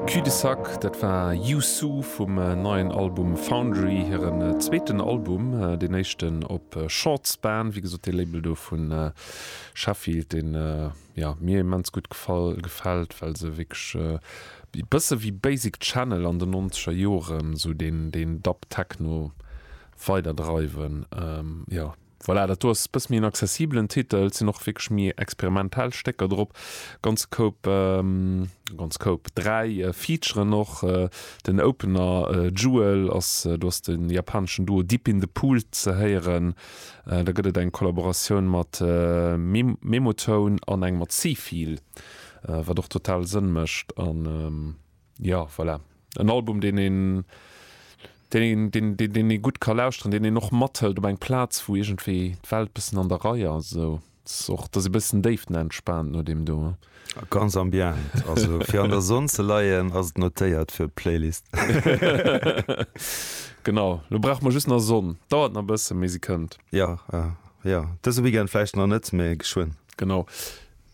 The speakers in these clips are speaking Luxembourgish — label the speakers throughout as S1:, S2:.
S1: Cul-de-sac, dat war Youssou vum neien Album Foundry, hiren zweeten Album, deen éischten op Short Span, wéi gesot dee Label do vu Sheffield, deen jo mir immens gutt gefall gefält, well se wierklech e bësse wéi Basic Channel an den nonzeger Joren esou deen deen Dub Techno weiderdreiwen. Jo. Voilà, dat do ass e bësse méi en accessibelen Titel. Et sinn och wierklech méi experimentell Stécker drop. Ganz Koup, ganz Koup, 3 Featuren och. Den Opener Jewel ass, do ass de japaneschen Duo Deep in the Pool ze héieren. Da gëtt et eng Kollaboratioun mat Memotone an eng mat Seefeel, wat och total Sënn mécht. An jo, voilà, en Album, deen een, deen een, deen, deen, deen ee gutt ka lauschteren, deen een och mathëlt op eng Plaz, wou iergendwéi d'Welt bëssen an der Rei ass esou. Ass och, dass ee bëssen déiftenentspaant no deem do.
S2: Ganz ambient, also fir an der Sonn ze leien ass et notéiert fir d'Playlist.
S1: Genau, lo brauche mer just nach Sonn. Dauert nach e bëssen, mee se kënnt.
S2: Jo, jo, dëse Weekend vläicht nach net, mee geschwënn.
S1: Genau.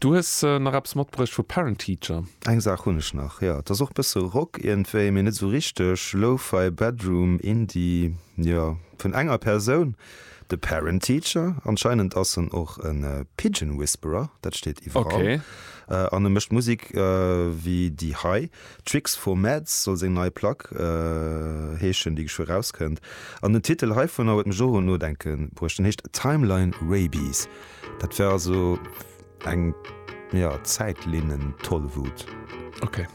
S1: Du hues nach eppes matbruecht vu Parent Teacher.
S2: Eng Saach hunn ech nach, jo. Et ass och bësse Rock iergendwéi, mee net esou richteg. Lo-Fi Bedroom Indie, jo, vun enger Persoun, de Parent Teacher. Anscheinend ass en och e Pigeon Whisperer, dat steet iwwerall. An e mécht Musek wéi déi hei. Tricks for Meds soll seng nei Plack heeschen, déi geschwë rauskënnt. An den Titel heivunner huet mech och un d'Nodenke bruecht. Den heescht Timeline Rabies. Dat wär also eng, jo, Zäitlinnen-Tollwut.
S1: Ok.